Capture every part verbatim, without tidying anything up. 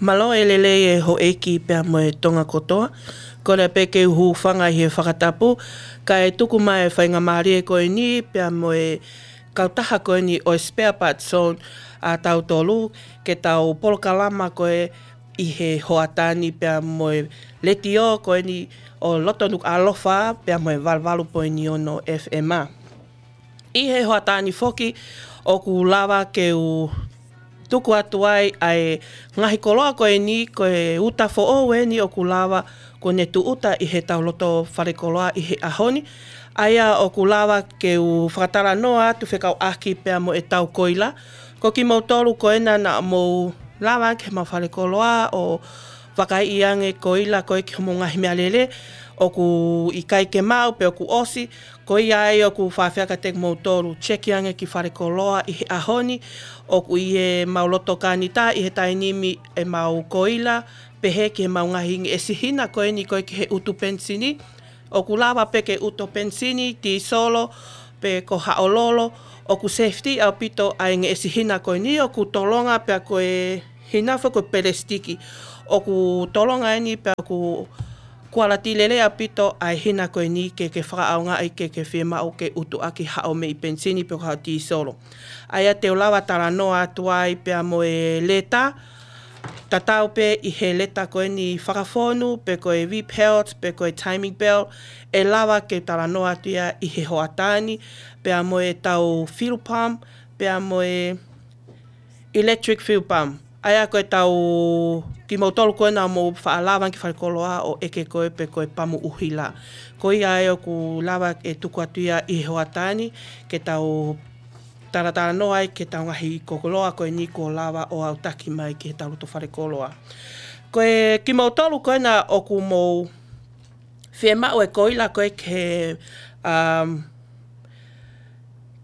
Mālō e lelei e houʻeiki pea mo e Tonga kotoa. Kole pē ke u hūfanga ʻi he fakatapu, kae tuku mai e faingamālie ko eni pea mo e kautaha ko eni ʻo e Spare Parts Zone ʻa tautolu, ke tau polokalama ko ē ʻi he hoʻatā ni pea mo e letiō ko eni ʻo loto Nukuʻalofa pea mo e valu valu poini ono F M. ʻI he hoʻatā ni foki ʻoku lava ke u tuku atu ai ʻa e ngaahi koloa ko eni, ko e uta foʻou eni ʻoku lava kuo ne tūʻuta ʻi heʻetau loto falekoloa ʻi he ʻaho ni. ʻA ia ʻoku lava ke u fakatalanoa atu fekauʻaki pea mo ʻetau koila. Ko kimoutolu ko ena naʻa mou lava ki heʻemau falekoloa ʻo vakaiʻi ange koila ko ē ki hoʻomou ngaahi meʻalele, ʻoku ʻikai ke maʻu pe ʻoku ʻosi, ko ia ai ʻoku faʻa fekauʻaki kiate kimoutolu, check ange ki falekoloa ʻi he ʻaho ni, ʻoku ʻi heʻemau loto kanita ʻi he taimi ni ʻemau koila, pehē ki heʻemau ngaahi ngeʻesi hina ko eni ko ē ki he utu penisini, ʻoku lava pē ke utu penisini, tīsolo, pe ko haʻo lolo, ʻoku safety ʻaupito ʻa e ngeʻesi hina ko eni, ʻoku tolonga pea ko e hina foki ko e pelesitiki. ʻOku tolonga eni pea ʻoku kualiti lelei ʻaupito ʻa e hina ko eni ke ke fakaʻaongaʻi ke ke fiemaʻu ke utuʻaki haʻo meʻi penisini pe ko haʻo tīsolo. ʻA ia te u lava talanoa atu ai pea mo e leta, tatau pē ʻi he leta ko eni fakafonu, pe ko e V-pelt, pe ko e timing belt, ʻe lava ke talanoa atu ia ʻi he hoʻatā ni, pea mo ʻetau fuel pump, pea mo e electric fuel pump. ʻA ia ko ʻetau, kimoutolu ko ena mou faʻa lava ki falekoloa ʻo ʻeke ko ē pe ko e pamu ʻuhila. Ko ia ai ʻoku lava e tuku atu ia ʻi he hoʻatā ni, ke tau talatalanoa ai ki heʻetau ngaahi koloa ko eni kuo lava ʻo aʻutaki mai ki heʻetau loto falekoloa. Ko e kimoutolu ko ena ʻoku mou fiemaʻu e koila ko ē ki he, um,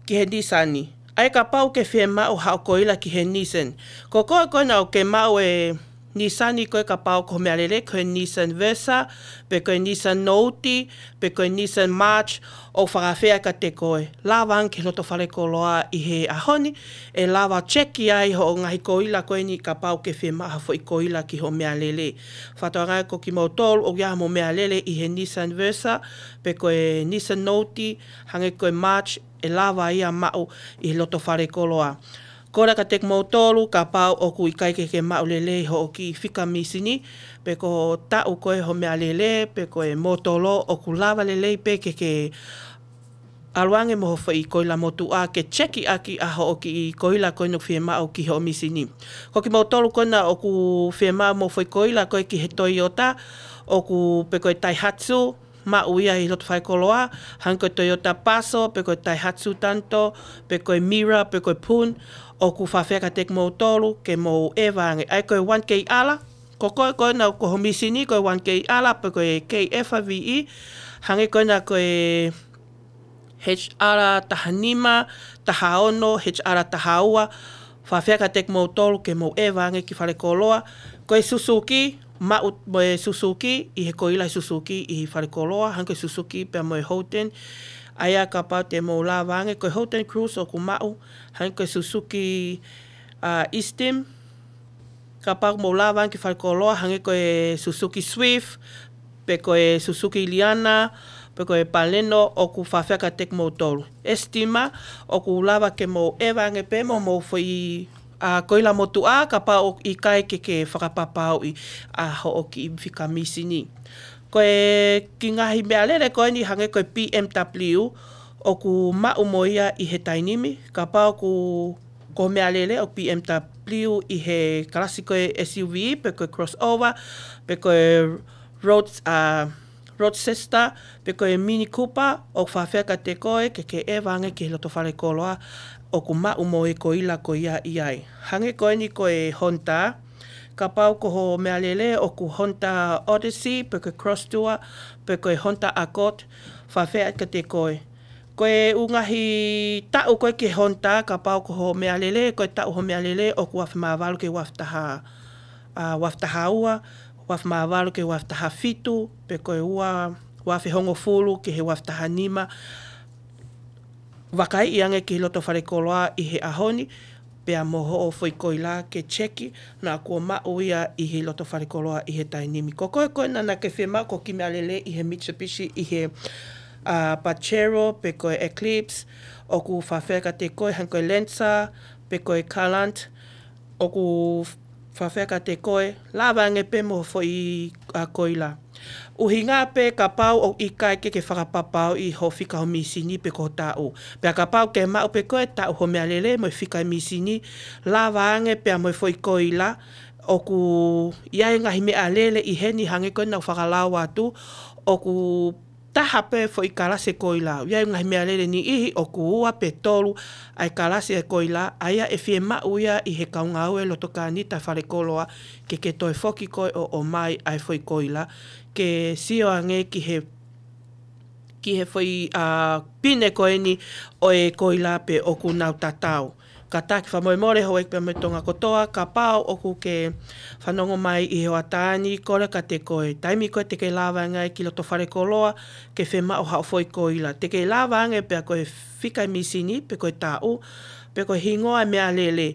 ki he Nissan. ʻA ia kapau ʻoku ke fiemaʻu haʻo koila ki he Nissan. Ko koe ko ena ʻoku ke maʻu e Nissan ko ē, kapau ko hoʻo meʻalele ko e Nissan Versa, pe ko e Nissan Note, pe ko e Nissan March, ʻoku faʻa fekauʻaki kiate koe. Lava ange ki he loto falekoloa ʻi he ʻaho ni, ʻe lava check ai hoʻo ngaahi koila ko eni kapau ʻoku ke fiemaʻu ha foʻi koila ki hoʻo meʻalele. Fakatauange ko kimoutolu ʻoku ʻi ai haʻamou meʻalele ʻi he Nissan Versa, pe ko e Nissan Note, hangē ko e March, ʻe lava ia maʻu ʻi he loto falekoloa. Kole kiate kimoutolu, kapau ʻoku ʻikai ke ke maʻu lelei hoʻo kiʻi fika misini, pe ko e taʻu ko ē hoʻo meʻalele, pe ko e motolo, ʻoku lava lelei pē ke ke ʻalu ange mo hoʻo foʻi koila motuʻa ke check ʻaki ʻa hoʻo kiʻi koila ko ena ʻoku fiemaʻu ki hoʻo misini. Ko kimoutolu ko ena ʻoku fiemaʻu mo e foʻi koila ko ē ki he Toyota, ʻoku pe ko e Daihatsu, maʻu ia ʻi he loto falekoloa, hangē ko e Toyota Passo, pe ko e Daihatsu Tanto, pe ko e Mira, pe ko e Pun, ʻoku faʻa fekauʻaki kiate kimoutolu ke mou ʻeva ange. ʻA ia ko e one K R, ko koe ko ena ko hoʻo misini ko e one K R, pe ko e K F V E, hangē ko ena ko e H R taha nima, taha ono, H R taha ua, faʻa fekauʻaki kiate kimoutolu ke mou ʻeva ange ki falekoloa. Ko e Suzuki, maʻu mo e Suzuki, ʻi he koila Suzuki ʻi falekoloa, hangē ko e Suzuki pea mo e Holden. ʻA ia kapau te mou lava ange, ko e Holden Cruze ʻoku maʻu, hangē ko e Suzuki, uh, Esteem, kapau ʻoku mou lava ange ki falekoloa, hangē ko e Suzuki Swift, pe ko e Suzuki Liana, pe ko e Baleno, ʻoku faʻa fekauʻaki kiate kimoutolu. Esteem, ʻoku lava ke mou ʻeva ange pē mo homou foʻi, uh, koila motuʻa, kapau ʻoku ʻikai ke ke fakapapauʻi ʻa hoʻo kiʻi fika misini. Ko e kiʻi ngaahi meʻalele ko eni hangē ko e B M W, ʻoku maʻu mo ia ʻi he taimi ni, kapau ʻoku ko hoʻo meʻalele ʻoku B M W ʻi he kalasi ko e S U V, pe ko e crossover, pe ko e road, uh, roadster, pe ko e Mini Cooper, ʻoku faʻa fekauʻaki kiate koe ke ke ʻeva ange ki he loto falekoloa ʻoku maʻu mo e koila ko ia ʻi ai. Hangē ko eni ko e Honda, kapau ko hoʻo meʻalele ʻoku Honda Odyssey, pe ko e Crosstour, pe ko e Honda Accord, faʻa fekauʻaki kiate koe. Ko e ʻū ngaahi taʻu ko ē ki he Honda, kapau ko hoʻo meʻalele, ko e taʻu hoʻo meʻalele ʻoku uaafe mā valu ki he uaafe taha, uh, uaafe taha ua, uaafe mā valu ki he uaafe taha fitu, pe ko e ua, uaafe hongofulu ki he uaafe taha nima. Vakaiʻi ange ki he loto falekoloa ʻi he ʻaho ni, pea mo hoʻo foʻi koila ke cheki, naʻa kuo maʻu ia ʻi he loto falekoloa ʻi he taimi ni. Ko koe ko ena naʻa ke fiemaʻu ko e kiʻi meʻalele ʻi he Mitsubishi ʻi he, ʻa, Pajero, pe ko e Eclipse, ʻoku fēfē kiate koe, hangē ko e Lancer, pe ko e Galant, ʻoku fēfē kiate koe, lava ange pē mo e foʻi, ʻa, koila. ʻUhinga pē kapau ʻoku ʻikai ke ke fakapapauʻi hoʻo fika ho mīsini pe ko e taʻu. Pea kapau ke maʻu pē koe e taʻu ho meʻalele mo e fika e mīsini, lava ange pea mo e foʻi koila, ʻoku ʻi ai e ngaahi meʻalele ʻi heni hangē ko ena naʻa ku fakalau atu, ʻoku taha pē foʻi kalasi e koila. ʻI ai e ngaahi meʻalele niʻihi ʻoku ua pe tolu ʻa e kalasi e koila, ʻa ia ʻe fiemaʻu ia ʻi he kau ngāue loto kānita falekoloa ke ke toe foki koe ʻo ʻomai ʻa e foʻi koila, ke sio ange ki he, ki he foʻi, ʻa, pine ko eni ʻo e koila pe ʻoku nau tatau. Kātaki fakamolemole houʻeiki pea mo e Tonga kotoa, kapau ʻoku ke fanongo mai ʻi he hoʻatā ni, kole kiate koe, taimi ko ē te ke lava ange ai ki loto falekoloa ke fiemaʻu haʻo foʻi koila. Te ke lava ange pea ko e fika e mīsini, pe ko e taʻu, pe ko e hingoa e meʻalele.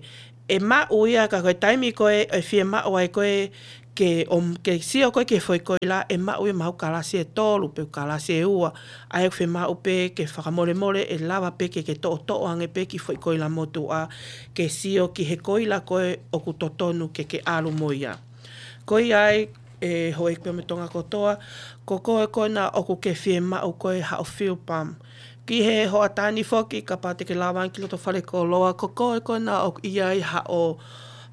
ʻE maʻu ia ka ko e taimi ko ē ʻe fiemaʻu ai koe ke ʻom-, ke sio koe ki he foʻi koila, ʻe maʻu ia mahalo kalasi e tolu, pe kalasi e ua. ʻA ia ʻoku fiemaʻu pē ke fakamolemole, ʻe lava pē ke ke toʻotoʻo ange pē e kiʻi foʻi koila motuʻa, ke sio ki he koila ko ē ʻoku totonu ke ke ʻalu mo ia. Ko ia ai, ʻe houʻeiki pea mo e Tonga kotoa, ko koe ko ena ʻoku ke fiemaʻu koe haʻo fuel pump. Ki he hoʻatā ni foki, kapau te ke lava ange ki loto falekoloa, ko koe ko ena ʻoku ʻi ai haʻo,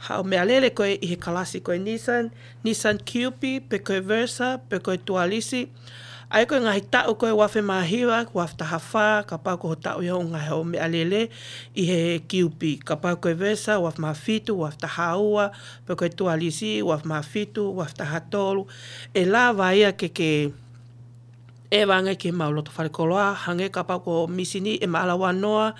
haʻo meʻalele ko ē ʻi he kalasi ko e Nissan, Nissan Cube, pe ko e Versa, pe ko e Tualisi. ʻA ia ko e ngaahi taʻu ko ē uaafe mā hiva, uaafe taha fā, kapau ko hoʻo taʻu ia ʻoku ngaahi hoʻo meʻalele ʻi he Cube. Kapau ko e Versa, uaafe mā fitu, uaafe taha ua, pe ko e Tualisi, uaafe mā fitu, uaafe taha tolu. ʻE lava ia ke ke ʻeva ange ki he mau loto falekoloa, hangē kapau ko e mīsini ʻe maʻala ua noa,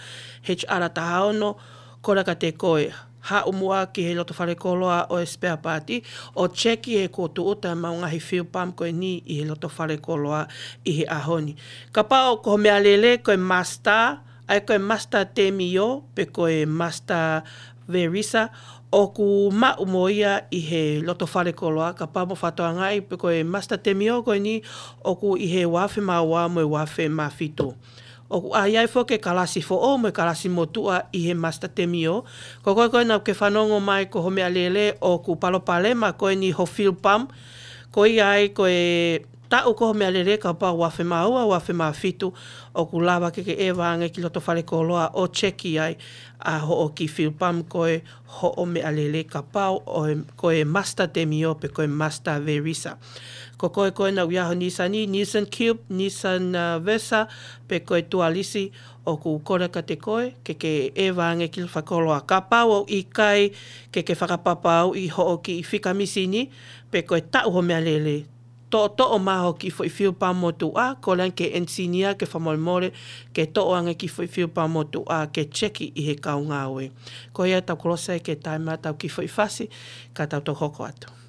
HR taha ono, kole kiate koe, haʻu muʻa ki he loto falekoloa ʻo e spare part, ʻo cheki he kuo tūʻuta e mau ngaahi fuel pump ko eni ʻi he loto falekoloa ʻi he ʻaho ni. Kapau ko hoʻo meʻalele ko e Mazda, ʻa ia ko e Mazda Demio, pe ko e Mazda Verisa, ʻoku maʻu mo ia ʻi he loto falekoloa, kapau mo fakatokangaʻi pe ko e Mazda Demio ko eni ʻoku ʻi he uaafe mā ua mo e uaafe mā fitu. ʻOku ʻi ai foki e kalasi foʻou mo e kalasi motuʻa ʻi he Mazda Demio. Ko koe ko ena ʻoku ke fanongo mai ko hoʻo meʻalele ʻoku palopalema ko eni hoʻo fuel pump, ko ia ai ko e taʻu ko ē hoʻo meʻalele kapau uaafe mā ua, uaafe mā fitu, ʻoku lava ke ke ʻeva ange ki loto falekoloa ʻo cheki ai ʻa hoʻo kiʻi fuel pump ko ē hoʻo meʻalele kapau ʻoku, ko e Mazda Demio pe ko e Mazda Verisa. Ko koe ko ena ʻoku ʻi ai ho Nissan ni, Nissan Cube, Nissan, ʻa, Versa, pe ko e Tualisi, ʻoku kole kiate koe ke ke ʻeva ange ki loto falekoloa. Kapau ʻoku ʻikai ke ke fakapapauʻi hoʻo kiʻi fika mīsini, pe ko e taʻu hoʻo meʻalele, toʻotoʻo mai hoʻo kiʻi foʻi fuel pump motuʻa, kole ange ki he ʻenisinia ke fakamolemole, ke toʻo ange e kiʻi foʻi fuel pump motuʻa, ke cheki ʻi he kau ngāue. Ko ia, tau kolose ki he taimi ʻetau kiʻi foʻi fasi, ka tau toe hoko atu.